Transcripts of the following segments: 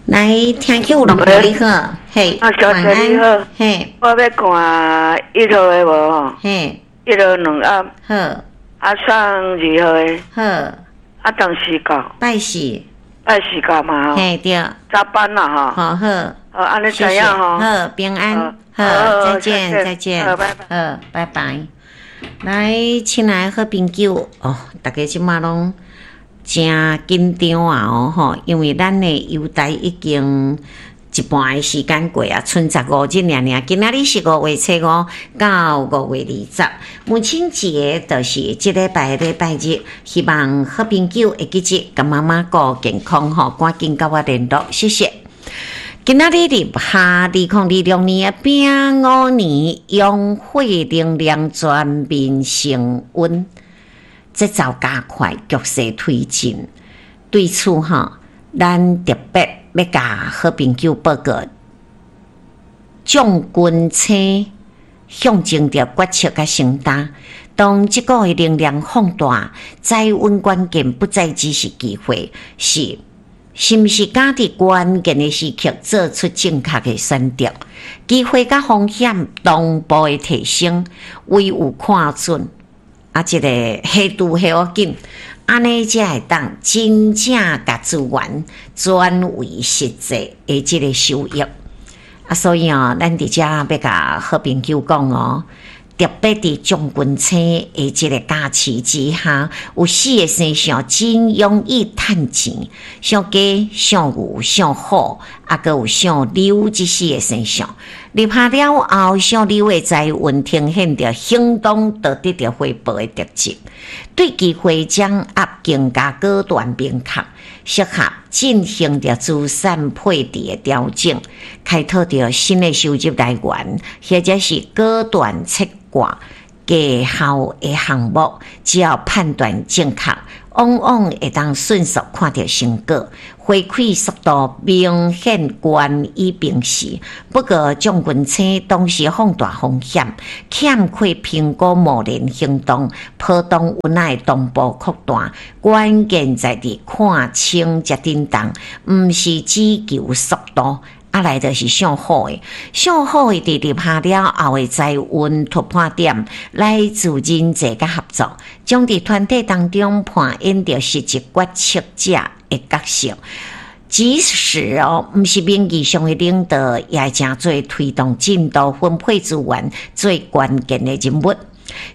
來，聽眾朋友你好，嘿，啊，小姐你好，嘿，我欲看一號的無？嘿，一號兩盒，好，啊，送二號的，好，啊，當時到，拜四，拜四到嘛？嘿對，早班啦吼，好好，好，按呢知影吼，好，平安，好，再見再見，好，拜拜，好，拜拜。來，親愛的好朋友哦，大家這馬攏誠緊張啊！哦吼，因為咱的郵台已經一半的時間過啊，賰15日爾爾。今仔日是5月初5到5月20，母親節就是這禮拜禮拜日。希望好朋友會記得共媽媽顧健康吼，趕緊佮我聯絡，謝謝。今仔日立夏2026年的丙午年，陽火能量全面升溫。節奏加快，局勢推進。對此吼，咱特別欲共好朋友報告，將軍星象徵著決策佮承擔。當這股的能量放大，財運關鍵不再只是機會，是是毋是敢佇關鍵的時刻做出正確的選擇？機會佮風險同步的提升，唯有看準。啊，這個下注下予緊，按呢才會當真正共資源轉為實際的這個收益。啊，所以哦，咱佇遮欲共好朋友講哦，特別佇將軍星的這個加持之下，有四個星象真容易趁錢，屬雞、屬牛、屬虎，啊，閣有屬牛這四個星象。立夏了後，屬牛的財運呈現著行動就得著回報的特質，對機會掌握更加果斷明確，適合進行著資產配置的調整，開拓著新的收入來源，或者是果斷切割低效的項目，只要判斷正確，往往會當迅速看著成果，回饋速度明顯懸於平時。不過，將軍星同時放大風險，欠缺評估貿然行動，波動有奈同步擴大。關鍵在佇看清才振動，毋是只求速度。啊，來就是屬虎的，屬虎的佇立夏了後的財運突破點，來自人際佮合作，將佇團體當中扮演著實質決策者的角色。即使哦，毋是名義上的領導，也會成做推動進度、分配資源最關鍵的人物。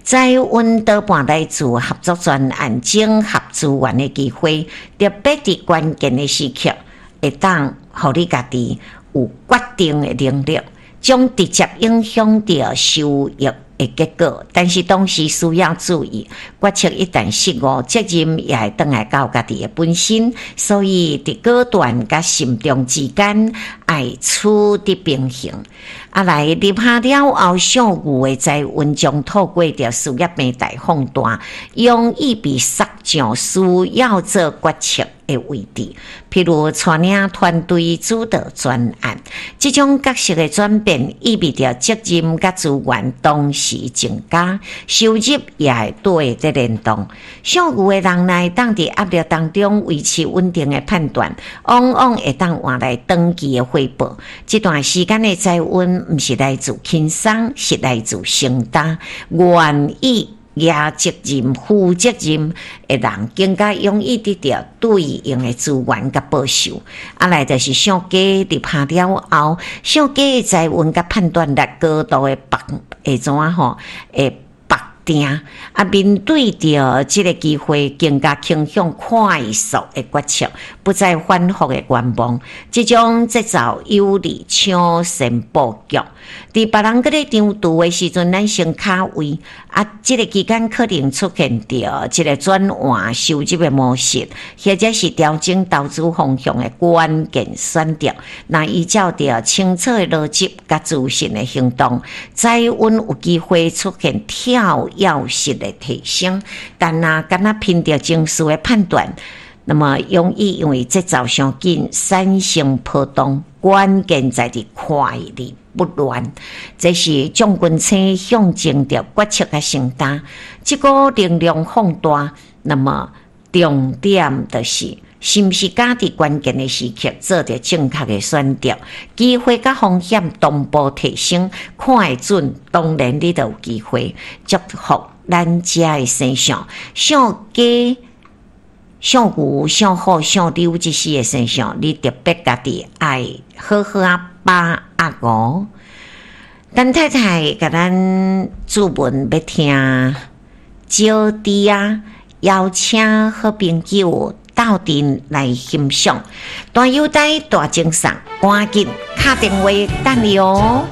財運多半來自合作專案、整合資源的機會，特別佇關鍵的時刻，會當予你家己有決定的能力，將直接影響著收益的結果。但是同時需要注意，決策一旦失誤，責任也會轉來到家己的本身。所以佇果斷佮慎重之間，愛取得平衡。啊，來立夏了後，屬牛的財運將透過著事業平台放大，容易被殺上需要做決策的位置，譬如帶領團隊主導專案，這種角色的轉變，意味著責任佮資源同時增加，收入也會對佇聯動。屬牛的人若會當佇壓力當中維持穩定的判斷，往往會當換來長期的回報。這段時間的財運毋是來自輕鬆，是來自承擔，願意舉責任、負責任的人，更加容易得著對應的資源佮報酬。啊，來就是屬雞立夏了後，屬雞的財運佮判斷力高度的綁會怎吼？會綁定啊，面對著這個機會，更加傾向快速的決策，不再反覆的觀望。這種節奏有利搶先布局。佇別人閣咧張櫥的時陣，咱先卡位啊！這個期間可能出現著這個轉換收入的模式，或者是調整投資方向的關鍵選擇。若依照著清楚的邏輯佮自信的行動，財運有機會出現跳躍式的提升。但若敢若憑著情緒的判斷，那麼容易因為節奏傷緊產生波動。關鍵在佇快而不亂，這是將軍星象徵著決策佮承擔，這股能量放大，那麼重點就是是毋是敢佇關鍵的時刻做著正確的選擇？機會佮風險同步提升，看會準，當然你就有機會。祝福咱遮的生肖，屬雞、屬牛、屬虎、屬牛這四個生肖，你特別家己愛好好仔把握哦。陳太太共咱注文欲聽招娣仔，邀請好朋友鬥陣來欣賞，大優待大贈送，趕緊敲電話等你哦。